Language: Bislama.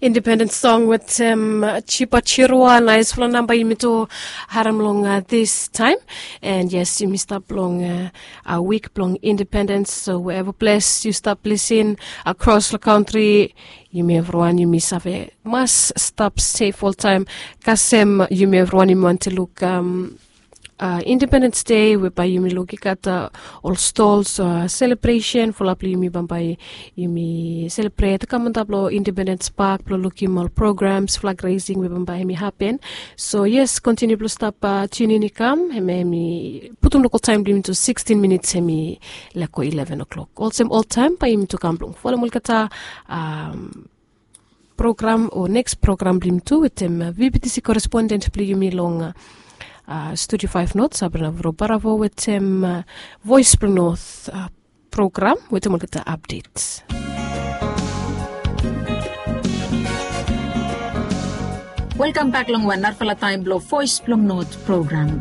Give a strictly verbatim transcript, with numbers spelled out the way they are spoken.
Independent song wetem Chipa Chirua, naispela namba yumi tu harem long this time. And yes, yumi stap long a week blong independence, so wherever ples yu stap lisin across the country, yumi evriwan yumi save mas stap safe oltaim. Kasem yumi evriwan yumi wanti luk um, uh, Independence Day we bai yumi luk i gat uh, ol stalls uh, celebration fulap yumi bambai yumi celebrate kam on top lo Independence Park blo lukim ol programs, flag raising we bambai hemi happen. So yes, continue blo stap uh, tune in i kam hemi hemi putum local time blo yumi to sixteen minutes hemi leko eleven o'clock. Olsem old time bai yumi to kam blong follow molkata um, program o next program blim tu wetem uh, V B T C correspondent bli yumi long uh, uh, Studio five North, Sabrina Vro Baravo wetem uh, Voice bli North uh, program wetem olgeta updates. Welcome back long wan narfala time blo Voice blo North program.